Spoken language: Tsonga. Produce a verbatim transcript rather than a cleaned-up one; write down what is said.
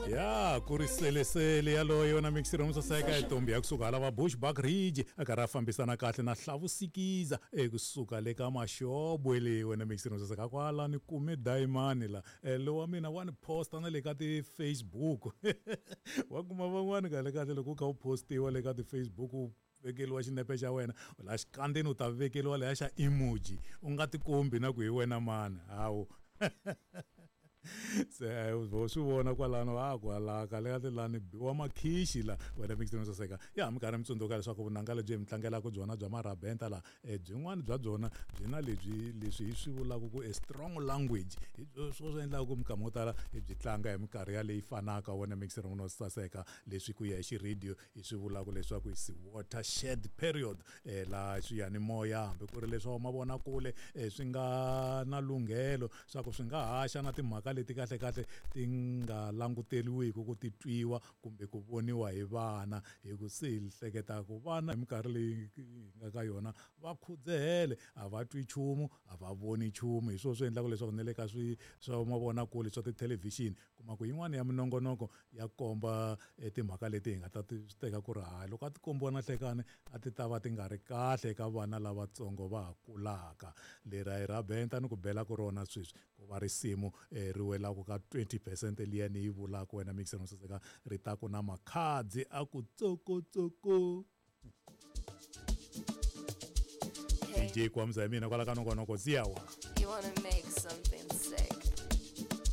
Ya ku ri selesele yaloyo na mixiro musaseka etombi ya kusuka hala va Bushbuck Ridge a karhi a fambisana kahle na Hlavusikiza ekusuka le ka Maxobwe leyi wena mixiro musaseka kwala ni kume dayimani la lowa mina wa ni posta na le ka ti-Facebook wa kuma van'wani kahle kahle loko u kha u postiwa le ka ti-Facebook u vekeliwa xinepe xa wena la xikandzeni u ta vekeliwa leya xa emoji u nga tikombi na ku hi wena mani hawu se vo swi vona kwalano a kwala kahle kahle lani biwa makhixi la wena mixini saseka ya mi karhi mi tsundzuka leswaku vunanga lebyi hi mi tlangelaka byona bya marabenta la byin'wana bya byona byi na lebyi leswi hi swi vulaka ku a strong language hi swo swi endlaka ku minkama yo tala hi byi tlanga hi minkarhi yaleyi fanaka wena mixini no saseka leswi ku ya hi xiradio hi swi vulaka leswaku is watershed period la swiyanimoya hambi ku ri leswa mavonakule swi nga na lunghelo swa ku swi nga haxa na timhaka leti kahle kahle ti nga languteriwiki ku ti twiwa kumbe ku voniwa hi vana hi ku se hi hleketa ku vana hi minkarhi leyi hi nga ka yona va khudzehele a va twi nchumu a va voni nchumu hi swona swi endlaka leswaku na le ka swi swa mavonakule swa tithelevhixini kuma ku yin'wana ya minongonoko ya komba timhaka leti hi nga ta ti teka ku ri hayi loko a ti kombiwa na hlekani a ti ta va ti nga ri kahle eka vana lavatsongo va ha kulaka leri a hi rabenta ni ku bela ku rona sweswi ku va risimu ri welaka ka twenty percent liya ni yi vulaka wena mixer saseka ri ta ku na makhadzi a ku tsokotsoko D J Kwamza hi mina kwala ka nongonoko ziyawa. You wanna make something